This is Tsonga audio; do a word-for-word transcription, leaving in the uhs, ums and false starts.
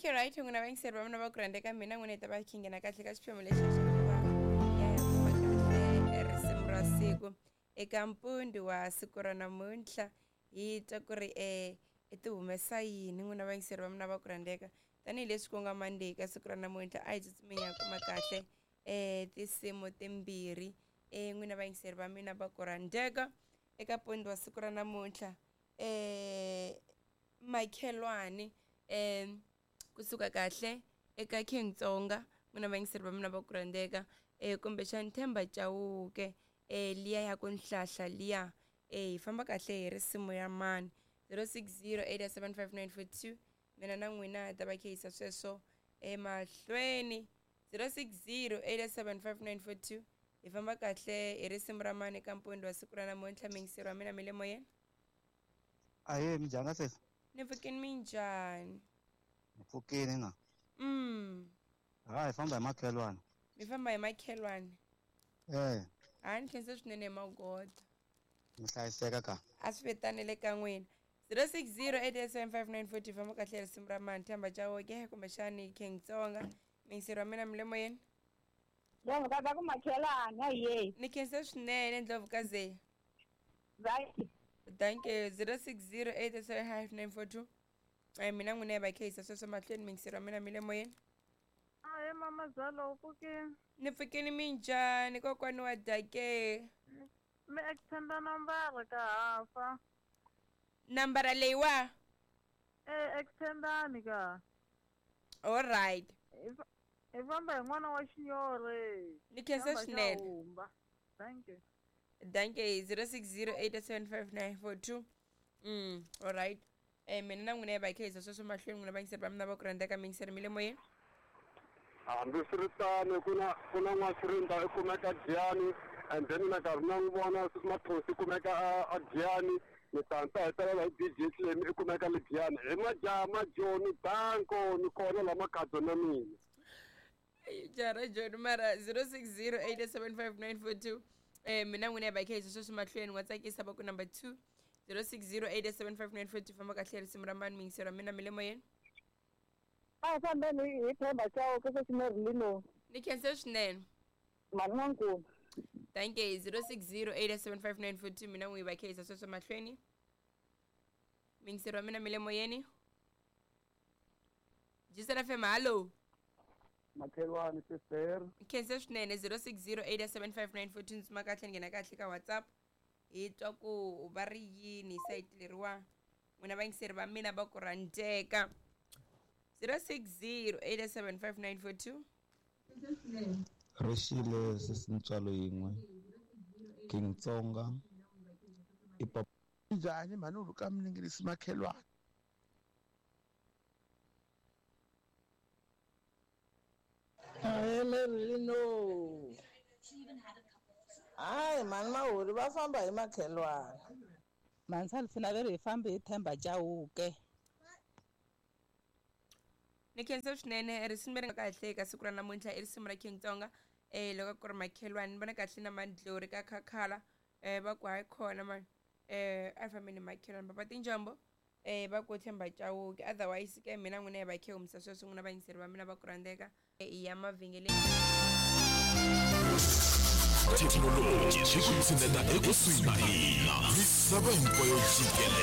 Okay, right, n'wina vayingiseri va mina va ku rhandza mina n'wina hi ta va hi nghena kahle ka xiphemu lexi xa ku va ya hi kuma kahle risimu ra siku eka mpundi wa siku ra namuntlha hi twa ku ri um i ti humesa yini n'wina vayingiseri va mina va ku rhandzeka tanihileswi ku nga Monday ka siku ra namuntlha a hi tsutsumeni ya kuma kahle um tinsimu timbirhi um n'wina vayingiseri va mina va ku rhandzeka eka mpundi wa siku ra namuntlha um makhelwani um kusuka kahle eka King Tsonga n'wina vayingiseri va mina va ku rhandzeka um kumbexani Themba Chauke um liya ya ku nhlahla liya um hi famba kahle hi risimu ya mani zero six zero eight seven five nine four two mina na n'wina hi ta va khehisa sweswo emahlweni zero six zero eight seven five nine four two hi famba kahle hi risimu ra mani eka mpundi wa siku ra namuntlha miyingiseri wa mina mi le moyeni. Ahee, minjhani sesi? Ni pfukini minjhani? Ni pfukini na. Mm. Ha, hi famba hi makhelwani. Mi famba hi makhelwani? Eh. Ha ni khensa swinene hi magoda. Mi hlayiseka ka. A swi vitanele ka n'wina. zero six zero eight seven five nine four two famba kahle risimu ra mani Themba Chauke kumbexani King Tsonga miyingiseri wa mina mi le moyeni. Ndlovu ka ku makhelwani ahee. Ni khensa swinene Ndlovu ka ze. Right. Thank you. zero six zero eight seven five nine four two. Ai mina n'wina hi va khehisa sweswo mahlweni miyingiseri wa mina mi le moyeni. Ahee mama Zalo, u pfukini? Ni pfukini minjhani kokwani wa Dake? Mi extenda nambara ka hafa. Nambara leyiwa? Eh, extendani ka. All right. Hi famba hi n'wana wa Xinyori. Ni khensa swinene. Thank you. Thank you. zero six zero eight seven five nine four two. Mm, all right. Eh mina na n'wina hi va khehisa sweswo mahlweni n'wina vayingiseri va mina va ku rhandzeka miyingiseri mi le moyeni. Hambiswiritano ku na ku na n'wasirinda i kumeka Giyani and then na nkarhi na n'wi vona Mathosi i kumeka a Giyani ni ta ta hetelela hi D J Clem i kumeka le Giyani hi majaha majoni danko ni kona la makhadzo na mina. Jara Joni mara zero six zero eight seven five nine four two eh mina n'wina hi va khehisa sweswo mahlweni wa tsakisa va ku number two zero six zero eight seven five nine four two famba kahle risimu ra mani miyingiseri wa mina mi le moyeni. A hi fambeni hi Themba Chauke sesi Merlino. Ni khensa swinene. Mhani n'wankulu. Thank you. zero six zero eight seven five nine four two mina n'wi va khehisa sweswo mahlweni. Miyingiseri wa mina mi le moyeni. Jisela F M, hallo. Makhelwani sister. Khensa swinene zero six zero eight seven five nine four two ntsuma kahle nghena kahle ka WhatsApp. Hi twa ku va ri yini sayiti leriwa n'wina vayingiseri va mina va ku rhandzeka. zero six zero eight seven five nine four two. Rixile sesi ntswalo yin'we King Tsonga i papa. Njhani mhani u ka miningirisi makhelwani? Ahee Merlino. Hayi mhani Mahuri va famba hi makhelwani. Mhani Salifina ve ri hi fambi hi Themba Chauke. Ni khensa swinene risimu leri nga kahle eka siku ra namuntlha i risimu ra King Tsonga eh loko ku ri makhelwani ni vona kahle na Mandlori ka Khakhala eh va ku hayi khona mani eh a fambeni makhelwani papa tinjombo eh va ku Themba Chauke otherwise ke mina n'wina hi va khe humisa sweswo n'wina vayingiseri va mina va ku rhandzeka i ya mavhengeleni. Thekinoloji yi ku tshineta ekusuhi na hina misava hinkwayo jikelele.